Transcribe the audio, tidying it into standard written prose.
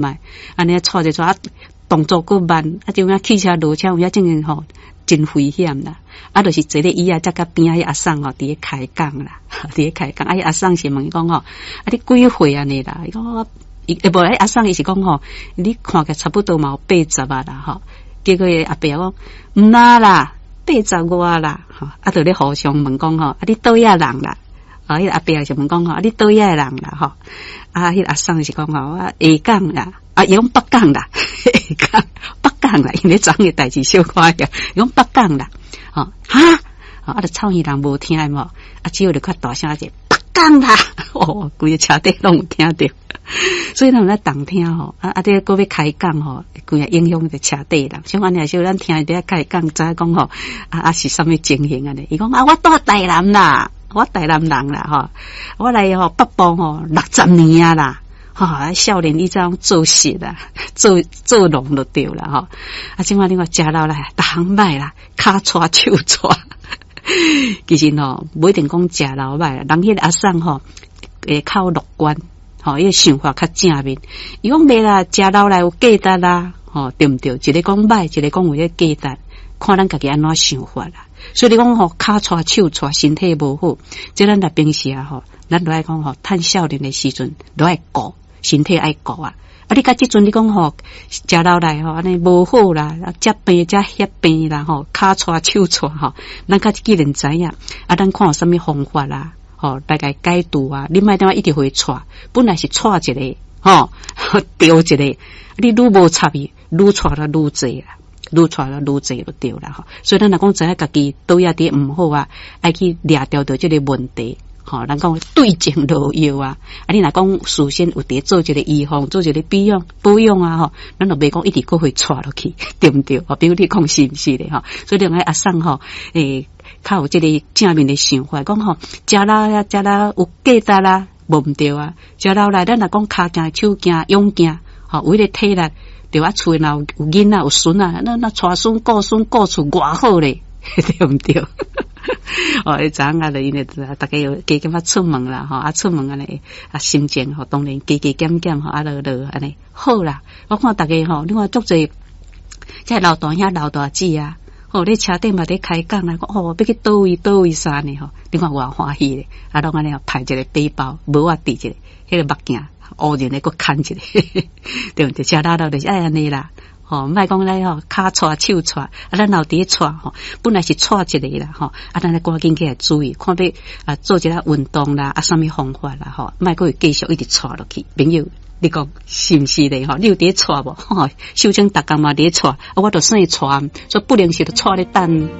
覓，按呢掣一掣啊，動作閣慢，啊，就影汽車落車有影真正吼真危險啦。啊，就是坐咧椅仔，才佮邊仔彼阿桑吼佇咧開講啦，佇咧開講。啊，彼阿桑是問伊講吼，啊，你幾歲按呢啦？伊講伊無，彼阿桑伊是講吼，你看起來差不多嘛有80啊啦吼。結果彼阿伯講毋若啦，80外啦。吼，啊，就咧互相問講吼，啊，你佗位仔人啦？啊，彼個阿伯就問講吼，啊，你佗位仔的人啦？吼，啊，彼個阿桑是講吼，我下港啦，啊，伊講北港啦，下港北港啦，因為昨昏的代誌小可呀，伊講北港啦，吼，哈，啊，就草原人無聽無，啊，只有就較大聲一下，北港啦，哦，規個車底攏有聽著，所以咱有咧動聽吼，啊啊，這閣欲開講吼，規個影響著車底人，像按呢時咱聽伊佇遐開講，知影講吼，啊啊是啥物情形按呢？伊講啊，我住台南啦。我台南人啦，吼，我來吼北部吼60年啊啦，吼，少年以前做事啦，做做農就對啦，吼。啊，這馬你看食老來，逐項歹啦，跤掣手掣。其實吼，無一定講食老歹啦，人彼個阿桑吼會較樂觀，吼，伊個想法較正面。伊講袂啦，食老來有價值啦，吼，對毋對？一個講歹，一個講有彼個價值，看咱家己按怎想法啦。所以你講吼，跤掣手掣，身體無好，這咱若平時啊吼，咱都愛講吼，趁少年的時陣都愛顧身體愛顧啊。啊，你到這陣你講吼，食老來吼，按呢無好啦，啊，這病這彼病啦吼，跤掣手掣吼，咱較既然知影，啊，咱看有啥物方法啦，吼，來共解除啊，你莫等下一直予伊掣，本來是掣一個，吼，著一個，你愈無插伊，愈掣了愈濟啦。愈掣了愈濟就對啦吼，所以咱若講知影家己佗位佇毋好啊，愛去掠著著這個問題，吼，咱講對症落藥啊。啊，你若講事先有佇做一個預防，做一個保養保養啊吼，咱就袂講一直閣會掣落去，對毋對？吼，比如你講是毋是咧吼？所以你講阿桑吼，欸，較有這個正面的想法，講吼，食老啊，食老有價值啦，無毋對啊。食老來，咱若講跤健手健勇健，吼，有彼個體力。對啊，厝若有囡仔有孫仔，那那帶孫顧孫顧厝偌好咧，對毋對？哦，彼昨昏啊，就因為逐家有加減仔出門啦，吼啊出門按呢啊心情吼當然加加減減吼啊落落按呢好啦。我看逐家吼，你看足濟，這老大兄老大姊啊，吼咧車頂嘛佇開講啊，講哦欲去佗位佗位啥呢吼，你看偌歡喜咧，啊攏按呢排一個背包，帽仔戴一個，彼個目鏡。烏人咧閣牽一個，對毋對？食老老就是愛按呢啦，吼，莫講咧吼，跤掣手掣，啊，咱老佇咧掣吼，本來是掣一個啦，吼，啊，咱愛趕緊起來注意，看欲啊做一下運動啦，啊，啥物方法啦，吼，莫閣會繼續一直掣落去。朋友，你講是毋是咧？吼，你有佇咧掣無？吼，秀清逐工嘛佇咧掣，啊，我著算掣，所以不能是著掣咧等。